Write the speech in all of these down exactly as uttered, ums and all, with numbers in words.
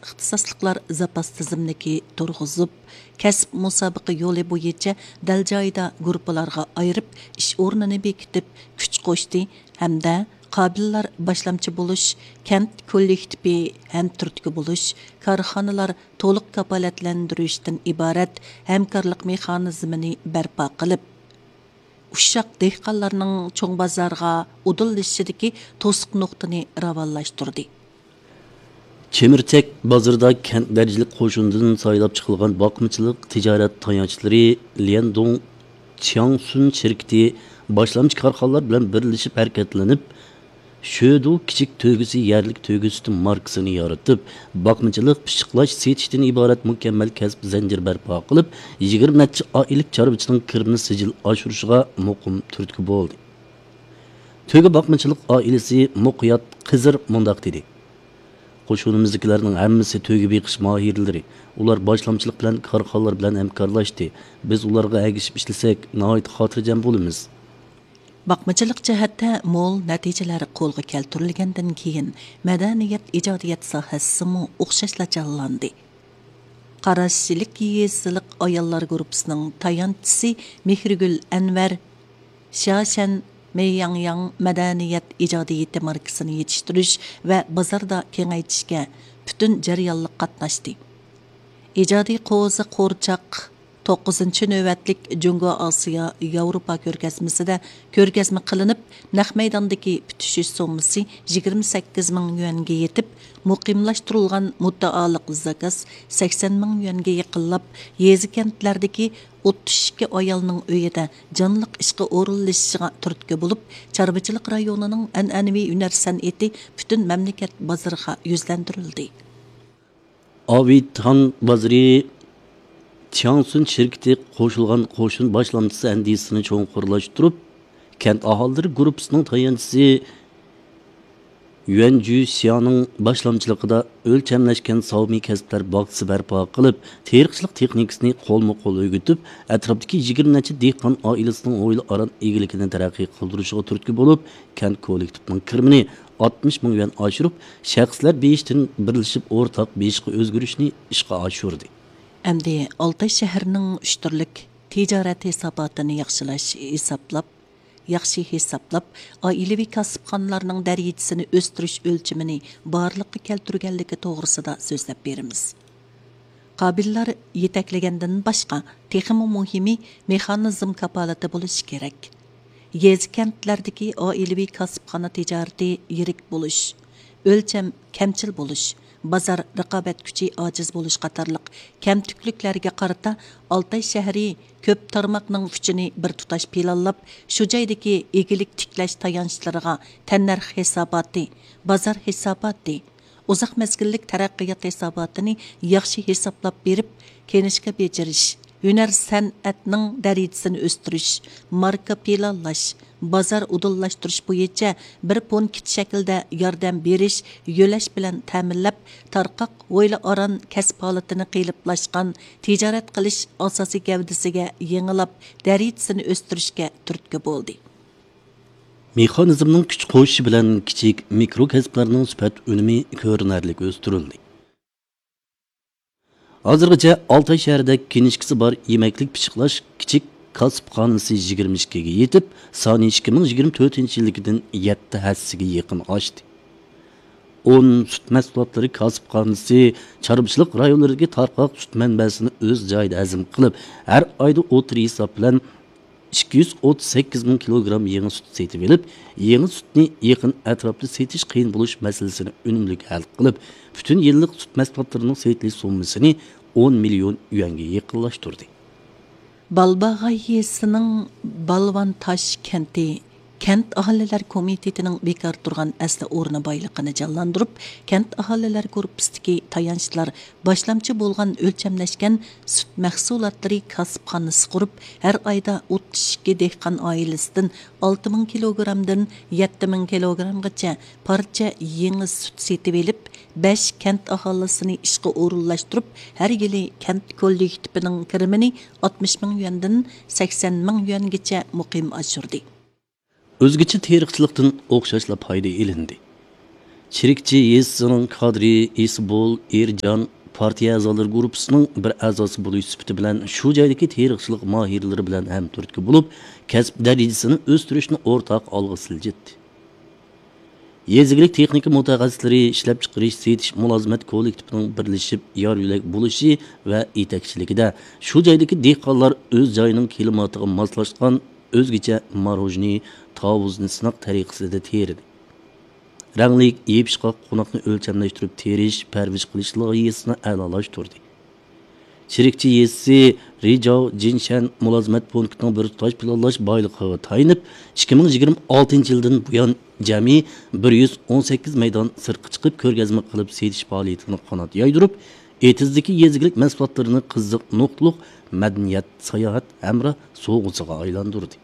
ئىختىساسلىقلار زاپاس تىزىملىكى تۇرغۇزۇپ، كەسىپ مۇسابىقە يولى بويىچە دەل جايىدا گۇرۇپپىلارغا ئايرىپ، ئىش ئورنىنى بېكىتىپ، كۈچ قوشتى ھەمدە قابىللار باشلامچى بولۇش، كەنت كوللېكتىپى ھەم تۈرتكە بولۇش، كارخانىلار تولۇق كاپالەتلەندۈرۈشتىن ئىبارەت ھەمكارلىق مېخانىزمىنى بەرپا قىلىپ، ئۇششاق دېھقانلارنىڭ چوڭ بازارغا ئۇدۇللىشىشىدىكى توسۇق نۇقتىنى راۋانلاشتۇردى. چېمىرچەك بازىرىدا كەنت دەرىجىلىك قوشۇندىن سايلاپ چىقىلغان باقمىچىلىق تىجارەت تايانچلىرى ليەندۇڭ چياڭسۈن شىركىتى باشلامچى كارخانىلار بىلەن بىرلىشىپ ھەرىكەتلىنىپ، شۆدۇ كىچىك تۆگىسى يەرلىك تۆگە سۈتى ماركىسىنى يارىتىپ، باقمىچىلىق، پىششىقلاش، سېتىشتىن ئىبارەت مۇكەممەل كەسىپ زەنجىرى بەرپا قىلىپ، يىگىرمە نەچچە ئائىلىلىك چارۋىچىنىڭ كىرىمىنى سىجىل ئاشۇرۇشىغا مۇقىم تۈرتكە بولدى. تۆگە باقمىچىلىق ئائىلىسى مۇقىيات قىزىر مۇنداق دېدى: قوشۇنىمىزدىكىلەرنىڭ ھەممىسى تۆگە بېقىش ماھىرلىرى. ئۇلار باشلامچىلىق بىلەن كارخانىلار بىلەن ھەمكارلاشتى. بىز ئۇلارغا ئەگىشىپ ئىشلىسەك، ناھايىتى خاتىرجەم بولىمىز. باقمىچىلىق جەھەتتە مول نەتىجىلەر قولغا كەلتۈرۈلگەندىن كېيىن، مەدەنىيەت ئىجادىيەت ساھەسىمۇ ئوخشاشلا جانلاندى. قاراشلىك يېزىلىق ئاياللار گۇرۇپپىسىنىڭ تايانچىسى مېھرىگۈل ئەنۋەر شياشەن مېيياڭياڭ مەدەنىيەت ئىجادىيىتى ماركىسىنى يېتىشتۈرۈش ۋە بازاردا كېڭەيتىشكە پۈتۈن جەريانلىق قاتناشتى. ئىجادىي قوزا قورچاق توققۇزىنچى نۆۋەتلىك جۇڭگو ئاسىيا ياۋروپا كۆرگەزمىسىدە كۆرگەزمە قىلىنىپ، نەق مەيداندىكى پۈتۈشۈش سوممىسى يىگىرمە سەككىز مىڭ يۈەنگە يېتىپ، مۇقىملاشتۇرۇلغان مۇددىئالىق زاكاز سەكسەن مىڭ يۈەنگە يېقىنلاپ، يېزا كەنتلەردىكى ئوتتۇز ئىككى ئايالنىڭ ئۆيىدە جانلىق ئىشقا ئورۇنلىشىشىغا تۈرتكە بولۇپ، چارۋىچىلىق رايونىنىڭ ئەنئەنىۋى ھۈنەر سەنئىتى پۈتۈن مەملىكەت بازىرىغا يۈزلەندۈرۈلدى. ئاۋېيتان بازىرى چياڭسۈن شىركىتى قوشۇلغان قوشۇن باشلامچىسى ئەندىزىسىنى چوڭقۇرلاشتۇرۇپ، كەنت ئاھالىلىرى گۇرۇپپىسىنىڭ تايانچىسى يۈەن جۈسيانىڭ باشلامچىلىقىدا ئۆلچەملەشكەن ساۋمى كەسىپلەر باغچىسى بەرپا قىلىپ، تېرىقچىلىق تېخنىكىسىنى قولمۇ قول ئۆگىتىپ، ئەتراپتىكى يىگىرمە نەچچە دېھقان ئائىلىسىنىڭ ھويلا ئاران ئىگىلىكىنى تەرەققىي قىلدۇرۇشىغا تۈرتكە بولۇپ، كەنت كوللېكتىپىنىڭ كىرىمىنى ئاتمىش مىڭ يۈەن ئاشۇرۇپ، شەخسلەر بېيىشتىن بىرلىشىپ ئورتاق بېيىشقا ئۆزگىرىشنى ئىشقا ئاشۇردى. ئەمدى ئالتاي شەھىرىنىڭ ئۈچ تۈرلۈك تىجارەت ھېساباتىنى ياخشىلاش ھېسابلاپ، ياخشى ھېسابلاپ، ئائىلىۋى كاسىپخانىلارنىڭ دەرىجىسىنى ئۆستۈرۈش ئۆلچىمىنى بارلىققا كەلتۈرگەنلىكى توغرىسىدا سۆزلەپ بېرىمىز. قابىللار يېتەكلىگەندىن باشقا، تېخىمۇ مۇھىمى، مېخانىزم كاپالىتى بولۇشى كېرەك. يېزا، كەنتلەردىكى ئائىلىۋى كاسىپخانا تىجارىتى يىرىك بولۇش، ئۆلچەم كەمچىل بولۇش، بازار رىقابەت كۈچى ئاجىز بولۇش قاتارلىق كەمتۈكلۈكلەرگە قارىتا، ئالتاي شەھىرى كۆپ تارماقنىڭ كۈچىنى بىر تۇتاش پىلانلاپ، شۇ جايدىكى ئىگىلىك تىكلەش تايانچلىرىغا تەننەرخ ھېساباتى، بازار ھېساباتى، ئۇزاق مەزگىللىك تەرەققىيات ھېساباتىنى ياخشى ھېسابلاپ بېرىپ، كىنىشكا بېجىرىش، ھۈنەر سەنئەتنىڭ دەرىجىسىنى ئۆستۈرۈش، ماركا پىلانلاش، بازار ئۇدۇللاشتۇرۇش بويىچە بىر پونكىت شەكلىدە ياردەم بېرىش، يۆلەش بىلەن تەمىنلەپ، تارقاق ھويلا ئاران كەسىپ ھالىتىنى قېلىپلاشقان تىجارەت قىلىش ئاساسىي گەۋدىسىگە يېڭىلاپ، دەرىجىسىنى ئۆستۈرۈشكە تۈرتكە بولدى. مېخانىزمنىڭ كۈچ قوشۇشى بىلەن كىچىك، مىكرو كەسىپلەرنىڭ سۈپەت ئۈنۈمى كۆرۈنەرلىك ئۆستۈرۈلدى. ھازىرغىچە ئالتاي شەھىرىدە كىنىشكىسى بار يېمەكلىك پىششىقلاش كىچىك كاسىپخانىسى يىگىرمە ئىككىگە يېتىپ، سانى ئىككى مىڭ يىگىرمە تۆتىنچى يىلىكىدىن يەتتە ھەسسىگە يېقىن ئاشتى. ئون سۈت مەھسۇلاتلىرى كاسىپخانىسى چارۋىچىلىق رايونلىرىدىكى تارقاق سۈت مەنبەسىنى ئۆز جايىدا ھەزىم قىلىپ، ھەر ئايدا ئوتتۇرا ھېساب بىلەن ئىككى يۈز ئوتتۇز سەككىز مىڭ كىلوگرام يېڭى سۈت سېتىۋېلىپ، يېڭى سۈتنى يېقىن ئەتراپتا سېتىش قىيىن بولۇش مەسىلىسىنى ئۈنۈملۈك ھەل قىلىپ، پۈتۈن يىللىق سۈت مەھسۇلاتلىرىنىڭ سېتىلىش سوممىسىنى ئون مىليون يۈەنگە يېقىنلاشتۇردى. بالباغاي يېزىسىنىڭ بالۋان تاش كەنتى كەنت ئاھالىلەر كومىتېتىنىڭ بىكار تۇرغان ئەسلى ئورنى بايلىقىنى جانلاندۇرۇپ، كەنت ئاھالىلەر گۇرۇپپىسىدىكى تايانچلار باشلامچى بولغان ئۆلچەملەشكەن سۈت مەھسۇلاتلىرى كاسىپخانىسى قۇرۇپ، ھەر ئايدا ئوتتۇز ئىككى دېھقان ئائىلىسىدىن ئالتە مىڭ كىلوگرامدىن يەتتە مىڭ كىلوگرامغىچە پارچە يېڭى سۈت سېتىۋېلىپ، بەش كەنت ئاھالىسىنى ئىشقا ئورۇنلاشتۇرۇپ، ھەر يىلى كەنت كوللېكتىپىنىڭ كىرىمىنى ئاتمىش مىڭ يۈەندىن سەكسەن مىڭ يۈەنگىچە مۇقىم ئاشۇردى. ئۆزگىچە تېرىقچىلىقتىن ئوخشاشلا پايدا ئېلىندى. چىرىكچى يېزىسىنىڭ كادىرى ئىسبول ئېرجان پارتىيە ئەزالىرى گۇرۇپپىسىنىڭ بىر ئەزاسى بولۇش سۈپىتى بىلەن شۇ جايدىكى تېرىقچىلىق ماھىرلىرى بىلەن ھەمتۈرتكە بولۇپ، كەسىپ دەرىجىسىنى ئۆستۈرۈشنى ئورتاق ئالغا سىلجىتتى. يېزا ئىگىلىك تېخنىكا مۇتەخەسسىسلىرى ئىشلەپچىقىرىش، سېتىش مۇلازىمەت كوللېكتىپىنىڭ بىرلىشىپ يار يۆلەك بولۇشى ۋە يېتەكچىلىكىدە شۇ جايدىكى دېھقانلار ئۆز جايىنىڭ كىلىماتىغا ماسلاشقان ئۆزگىچە ماروژنى، تاۋۇزنى سىناق تەرىقىسىدە تېرىدى. رەڭلىك، يېپىشقاق قوناقنى ئۆلچەملەشتۈرۈپ تېرىش، پەرۋىش قىلىش لايىھەسىنى ئەلالاشتۇردى. چىرىكچى يېزىسى رىجاۋ جىنشەن مۇلازىمەت پونكىتىنىڭ بىر تۇتاش پىلانلاش بايلىقىغا تايىنىپ، ئىككى مىڭ يىگىرمە ئالتىنچى يىلدىن بۇيان جەمئىي بىر يۈز ئون سەككىز مەيدان سىرتقا چىقىپ كۆرگەزمە قىلىپ سېتىش پائالىيىتىنى قانات يايدۇرۇپ، ئېتىزدىكى يېزا ئىگىلىك مەھسۇلاتلىرىنى قىزىق نۇقتىلىق مەدەنىيەت، ساياھەت ھەمراھ سوۋغىسىغا ئايلاندۇردى.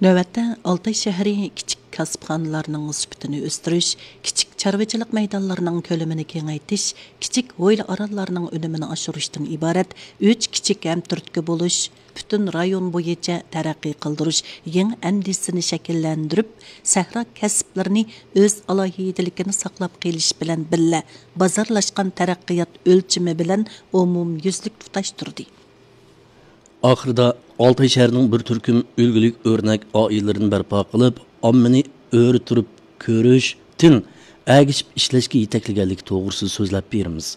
نۆۋەتتە ئالتاي شەھىرى كىچىك كاسىپخانىلارنىڭ سۈپىتىنى ئۆستۈرۈش، كىچىك چارۋىچىلىق مەيدانلىرىنىڭ كۆلىمىنى كېڭەيتىش، كىچىك ھويلا ئاراللارنىڭ ئۈنۈمىنى ئاشۇرۇشتىن ئىبارەت ئۈچ كىچىك ھەمتۈرتكە بولۇش، پۈتۈن رايون بويىچە تەرەققىي قىلدۇرۇش يېڭى ئەندىزىسىنى شەكىللەندۈرۈپ، سەھرا كەسىپلىرىنى ئۆز ئالاھىدىلىكىنى ساقلاپ قېلىش بىلەن بىللە، بازارلاشقان تەرەققىيات ئۆلچىمى بىلەن ئومۇميۈزلۈك تۇتاشتۇردى. ئاخىرىدا ئالتاي شەھىرىنىڭ بىر تۈركۈم ئۈلگىلىك ئۆرنەك ئائىلىلىرىنى بەرپا قىلىپ، ئاممىنى ئۆرە تۇرۇپ كۆرۈشتىن ئەگىشىپ ئىشلەشكە يېتەكلىگەنلىكى توغرىسىدا سۆزلەپ بېرىمىز.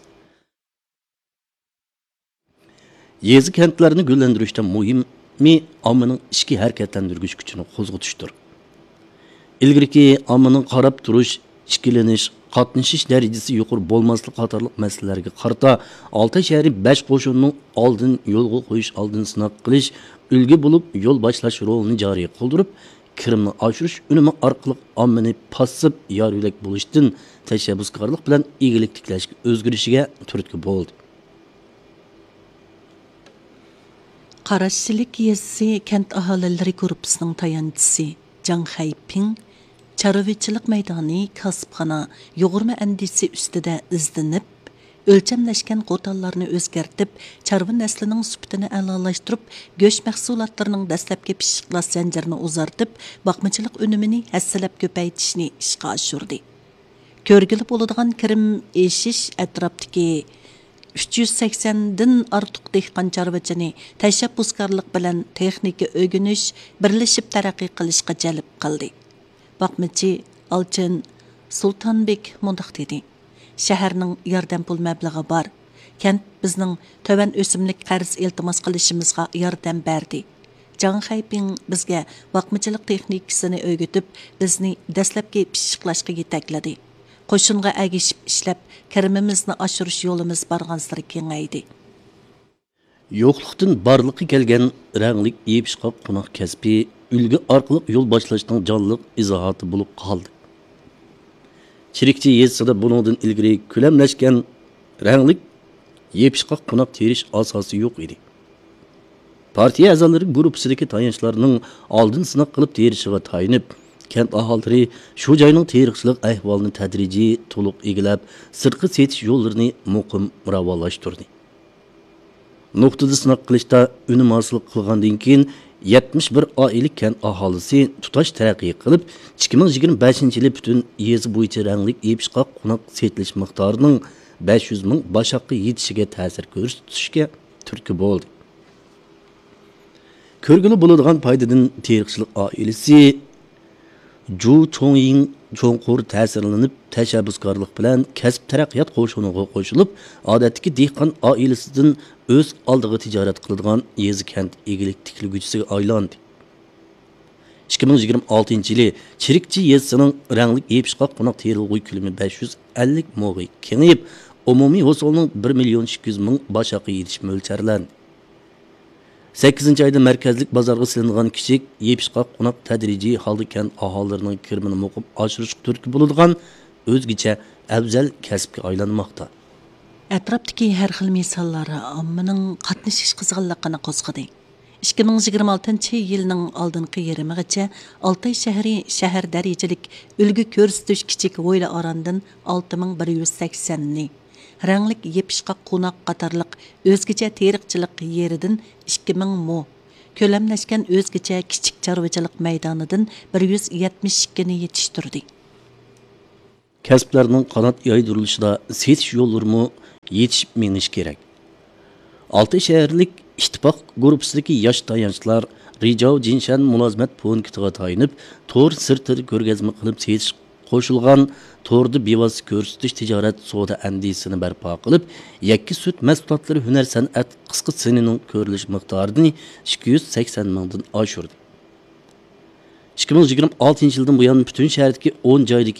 يېزا كەنتلەرنى گۈللەندۈرۈشتە مۇھىمى ئاممىنىڭ ئىچكى ھەرىكەتلەندۈرگۈچ كۈچىنى قوزغىتىشتۇر. ئىلگىرىكى ئاممىنىڭ قاراپ تۇرۇش، ئىككىلىنىش، قاتنىشىش دەرىجىسى يۇقىرى بولماسلىقى قاتارلىق مەسىلىلەرگە قارىتا، ئالتاي شەھىرى بەش قوشۇننىڭ ئالدىن يولغا قويۇش، ئالدىن سىناق قىلىش، ئۈلگە بولۇپ يول باشلاش رولىنى جارى قىلدۇرۇپ، كىرىمنى ئاشۇرۇش ئۈنۈمى ئارقىلىق ئاممىنى پاسسىپ يار يۆلەك بولۇشتىن تەشەببۇسكارلىق بىلەن ئىگىلىك تىكلەشكە ئۆزگىرىشىگە تۈرتكە بولدى. قاراشچىلىك يېزىسى كەنت ئاھالىلىرى گۇرۇپپىسىنىڭ تايانچىسى جاڭ خەيپىڭ چارۋىچىلىق مەيدانى، كاسىپخانا، يۇغۇرما ئەندىزىسى ئۈستىدە ئىزدىنىپ، ئۆلچەملەشكەن قوتانلارنى ئۆزگەرتىپ، چارۋا نەسلىنىڭ سۈپىتىنى ئەلالاشتۇرۇپ، گۆش مەھسۇلاتلىرىنىڭ دەسلەپكى پىششىقلاش زەنجىرىنى ئۇزارتىپ، باقمىچىلىق ئۈنۈمىنى ھەسسىلەپ كۆپەيتىشنى ئىشقا ئاشۇردى. كۆرگىلى بولىدىغان كىرىم ئېشىش ئەتراپتىكى ئۈچ يۈز سەكسەندىن ئارتۇق دېھقان چارۋىچىنى تەشەببۇسكارلىق بىلەن تېخنىكا ئۆگىنىش، بىرلىشىپ تەرەققىي قىلىشقا جەلپ قىلدى. باقمىچى ئالچىن سۇلتانبېك مۇنداق دېدى: شەھەرنىڭ ياردەم پۇل مەبلىغى بار. كەنت بىزنىڭ تۆۋەن ئۆسۈملۈك قەرز ئىلتىماس قىلىشىمىزغا ياردەم بەردى. جاڭ خەيپىڭ بىزگە باقمىچىلىق تېخنىكىسىنى ئۆگىتىپ، بىزنى دەسلەپكى پىششىقلاشقا يېتەكلىدى. قوشۇنغا ئەگىشىپ ئىشلەپ، كىرىمىمىزنى ئاشۇرۇش يولىمىز بارغانسېرى كېڭەيدى. يوقلۇقتىن بارلىققا كەلگەن رەڭلىك يېپىشقاق قوناق كەسپى ئۈلگە ئارقىلىق يول باشلاشنىڭ جانلىق ئىزاھاتى بولۇپ قالدى. چىرىكچى يېزىسىدا بۇنىڭدىن ئىلگىرى كۆلەملەشكەن رەڭلىك يېپىشقاق قوناق تېرىش ئاساسى يوق ئىدى. پارتىيە ئەزالىرى گۇرۇپپىسىدىكى تايانچلارنىڭ ئالدىن سىناق قىلىپ تېرىشىغا تايىنىپ، كەنت ئاھالىلىرى شۇ جاينىڭ تېرىقچىلىق ئەھۋالىنى تەدرىجىي تولۇق ئىگىلەپ، سىرتقا سېتىش يوللىرىنى مۇقىم راۋانلاشتۇردى. نۇقتىدا سىناق قىلىشتا ئۈنۈم ھاسىل قىلغاندىن كېيىن، يەتمىش بىر ئائىلە كەنت ئاھالىسى تۇتاش تەرەققىي قىلىپ، ئىككى مىڭ يىگىرمە بەشىنچى يىلى پۈتۈن يېزا بويىچە رەڭلىك يېپىشقاق قوناق سېتىلىش مىقدارىنىڭ بەش يۈز مىڭ باشاققا يېتىشىگە تەسىر كۆرسىتىشكە تۈرتكە بولدى. كۆرگىلى بولىدىغان پايدىدىن تېرىقچىلىق ئائىلىسى جۇ چوڭيىڭ چوڭقۇر تەسىرلىنىپ، تەشەببۇسكارلىق بىلەن كەسىپ تەرەققىيات قوشۇنىغا قوشۇلۇپ، ئادەتتىكى دېھقان ئائىلىسىدىن ئۆز ئالدىغا تىجارەت قىلىدىغان يېزا كەنت ئىگىلىك تىكلىگۈچىسىگە ئايلاندى. ئىككى مىڭ يىگىرمە ئالتىنچى يىلى چىرىكچى يېزىسىنىڭ رەڭلىك يېپىشقاق قوناق تېرىلغۇ كۆلىمى بەش يۈز ئەللىك موغا كېڭىيىپ، ئومۇمىي ھوسۇلنىڭ بىر مىليون ئىككى يۈز مىڭ باشاققا يېتىشى مۆلچەرلەندى. سەككىزىنچى ئايدا مەركەزلىك بازارغا سېلىنغان كىچىك يېپىشقاق قوناق تەدرىجىي ھالدا كەنت ئاھالىلىرىنىڭ كىرىمىنى مۇقىم ئاشۇرۇشقا تۈرتكە بولىدىغان ئۆزگىچە ئەۋزەل كەسىپكە ئايلانماقتا. ئەتراپتىكى ھەر خىل مىساللار ئاممىنىڭ قاتنىشىش قىزغىنلىقىنى قوزغىدى. ئىككى مىڭ يىگىرمە ئالتىنچى يىلنىڭ ئالدىنقى يېرىمىغىچە ئالتاي شەھىرى شەھەر دەرىجىلىك ئۈلگە كۆرسىتىش كىچىك ھويلا ئاراندىن ئالتە مىڭ بىر يۈز سەكسەننى، رەڭلىك يېپىشقاق قوناق قاتارلىق ئۆزگىچە تېرىقچىلىق يېرىدىن ئىككى مىڭ مو، كۆلەملەشكەن ئۆزگىچە كىچىك چارۋىچىلىق مەيدانىدىن بىر يۈز يەتمىش ئىككىنى يېتىشتۈردى. كەسىپلەرنىڭ قانات يايدۇرۇلۇشىدا سېتىش يوللىرىمۇ يېتىشىپ مېڭىشى كېرەك. ئالتە شەھەرلىك ئىتتىپاق گۇرۇپپىسىدىكى ياش تايانچلار رىجاۋ جىنشەن مۇلازىمەت پونكىتىغا تايىنىپ، تور سىرتىدا كۆرگەزمە قىلىپ سېتىش قوشۇلغان توردا بىۋاسىتە كۆرسىتىش تىجارەت سودا ئەندىزىسىنى بەرپا قىلىپ، يەككە سۈت مەھسۇلاتلىرى ھۈنەر سەنئەت قىسقا سىنىنىڭ كۆرۈلۈش مىقدارىنى ئىككى يۈز سەكسەن مىڭدىن ئاشۇردى. ئىككى مىڭ يىگىرمە ئالتىنچى يىلدىن بۇيان پۈتۈن شەھەردىكى ئون جايدىكى